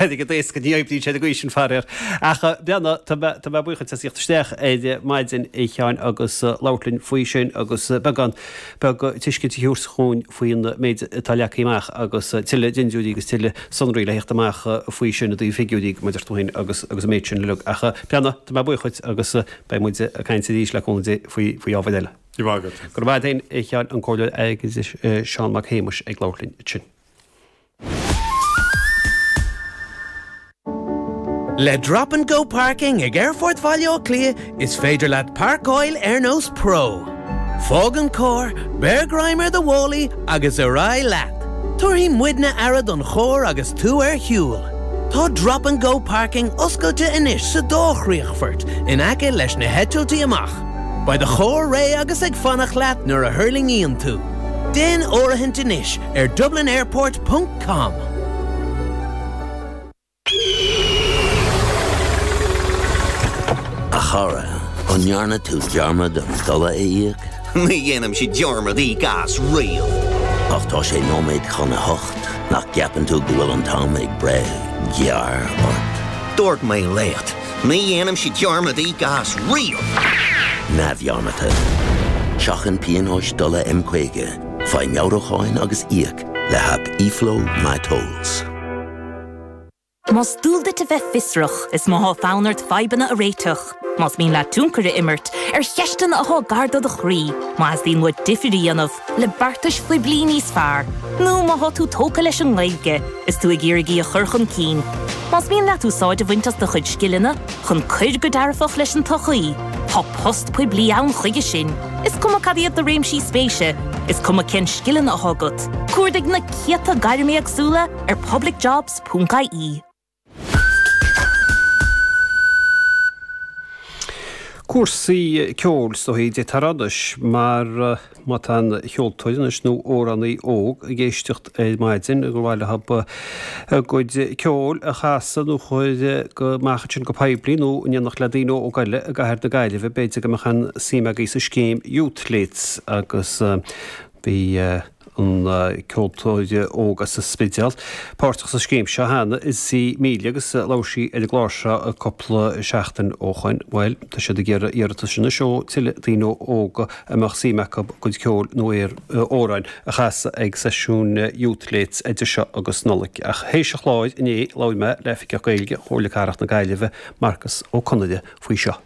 Airgead éasca, ní oibríonn sé ar an gcaoi sin, faraor. Ach breathnaigh, tá mé, tá mé buíoch duit as theacht isteach ar maidin, a Sheáin, agus labhairt linn faoi sin agus beagán beag tuiscint a thabhairt dhúinn faoin méid atá leagtha amach agus tuilleadh dindiúirí agus tuilleadh sonraí le theacht amach faoi sin i dtaobh figiúirí, mar a deir tú féin, agus agus an méid sin uilig. Ach breathnaigh, tá mé buíoch duit agus beidh muid ag caint arís le cúnamh Dé faoi, faoi ábhair eile. Go raibh maith agat. Go raibh maith agat féin, a Sheáin, an Comhairleoir Airgeadais Seán Mac Shéamais ag labhairt linn ansin. Le Drop and Go Parking ag Aerfort Bhaile Átha Cliath is féidir leat páirceáil ar nós pro. Fág an carr, beir greim ar do mhálaí agus ar aghaidh leat! Tabharfaidh muidne aire don charr agus tú ar shiúl. Tá Drop and Go Parking oscailte anois sa dá chríochfort in aice leis na heitiltí amach. Beidh do charr réidh agus ag fanacht leat nuair a thuirlingíonn tú. Déan áirithint anois ar dublinairport ponc com. A chara, an ndearna tú dearmad an dola a íoc? Ní dhéanaimse dearmad íoc as riamh. Ach tá sé nóiméad chun a hocht, nach gceapann tú go bhfuil an t-am ag breith gearr ort? Dúirt mé leat, ní dhéanaimse dearmad íoc as riamh! Neamhdhearmadta. Seachain pionóis dola M50, faigh meabhrúcháin agus íoc le haip eFlow MyTolls. Más dual duit a bheith fiosrach is má thá fonn ort fadhbanna a réiteach, más mian leat tionchar a imirt ar cheisteanna athá gar do do chroí, má theastaíonn uait difir a dhéanamh le beartais phoiblí níos fearr, nó má thá tú tógtha leis an nGaeilge is tú ag iarraidh í a chur chun cinn, más mian leat úsáid a bhaint as do chuid scileanna chun cuir go dearfach leis an tsochaí, tá post poiblí ann chuige sin. Is cuma cad iad do réimsí spéise, is cuma cén scileanna athá agat, cuardaigh na céadta gairm éagsúla ar publicjobs. Ponc ie. Cúrsaí ceoil is dóichí a d'fhéadfá a rá anois mar má tá aon cheoltóir anois nó amhránaí óg ag éisteacht ar maidin gur mhaith leo a gcuid ceoil a chasadh nó chur go amach ansin go poiblí nó in éineacht le daoine óga eile i gcathair na Gaillimhe b'fhéidir go mbeadh aon suim agaibh sa scéim Youthletes agus bhí an ceoltóir óg as an Spidéal, páirteach sa scéim seo cheana, Izzy Melia agus labhair sí ar an gclár seo cúpla seachtain ó shoin. Bhuel, tá siad ag iarraidh iarratais anois ó tuilleadh daoine óga a mbeadh suim acu a gcuid ceoil nó amhráin a chasadh ag seisiún Youthletes idir seo agus Nollaig. Ach théis an chláir inné labhair mé le Oifigeach Gaeilge Chomhairle Cathrach na Gaillimhe, Marcus Ó Conaire, faoi seo.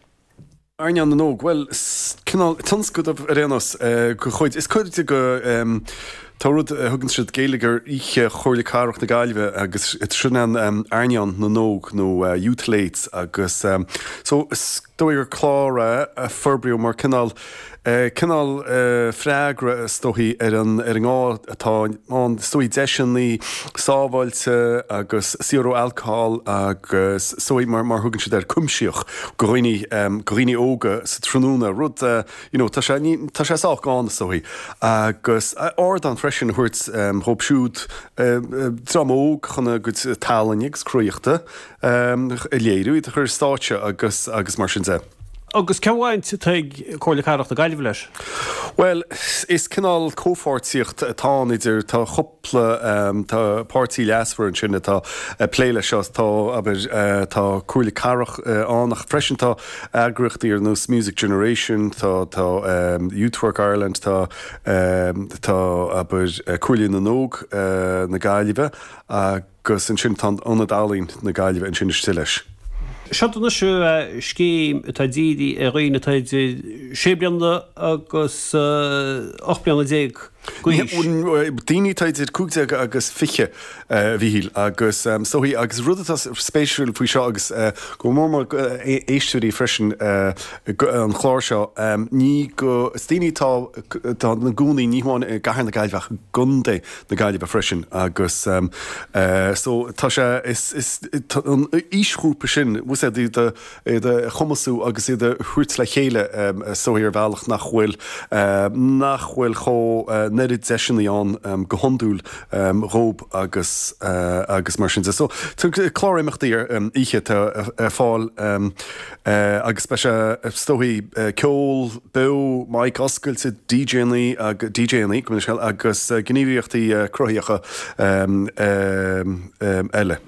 Airneán na nÓg, bhuel, cineál tionscadal ar aon nós de chuid, is cuid de go, tá rud a thugann siad Geilleagar Oíche Chomhairle Cathrach na Gaillimhe agus sin an Airneán na nÓg nó Youthletes agus so is dóigh gur clár é a forbraíodh mar cineál cineál freagra is dóichí ar an ar an ngá atá ann is dóichí deiseanna sábháilte agus saor ó alcohol agus is dóichí mar mar thugann siad air cuimsitheach go dhaoine go dhaoine óga sa tráthnóna rud you know tá sé ní tá sé sách gann is dóichí agus ardán freisin a thabhairt dhóibh siúd dream óg chun a gcuid tallainne agus cruthaitheachta a léiriú iad a chur ar stáitse agus agus mar sin de. Agus cén bhaint atá ag Comhairle Cathrach na Gaillimhe leis? Bhuel, is cineál comhpháirtíocht atá ann idir, tá cúpla, tá páirtí leasmhar ansin atá ag plé leis seo, tá, abair, tá Comhairle Cathrach ann ach freisin tá eagraíochtaí ar nós Music Generation, tá, tá Youth Work Ireland, tá, tá, abair, Comhairle na nÓg na Gaillimhe agus. Agus ansin tá an Ionad Ealaíon na Gaillimhe ansin istigh leis. Seo anois scéim atá dírithe ar dhaoine atá idir sé bliana agus 18 bliana d'aois. Daoine atá idir 15 agus 20, a Mhíchíl, agus is dóichí, agus rud atá spéisiúil faoi seo agus go mór mór éisteoirí freisin an chláir seo, ní go, is daoine atá atá ina gcónaí ní hamháin i gcathair na Gaillimhe ach i gContae na Gaillimhe freisin agus so tá sé is is an aoisghrúpa sin bhfuil a fhios agat iad a chumasú agus iad a thabhairt le chéile is dóichí ar bhealach nach bhfuil nach bhfuil chomh an oiread deiseanna ann go hiondúil dhób agus agus mar sin de. So tá clár imeachtaí ar oíche atá ar fáil agus beidh sé is dóichí ceol beo, mic oscailte, DJannaí, DJannaí, go minic agus gníomhaíochtaí cruthaitheacha eile.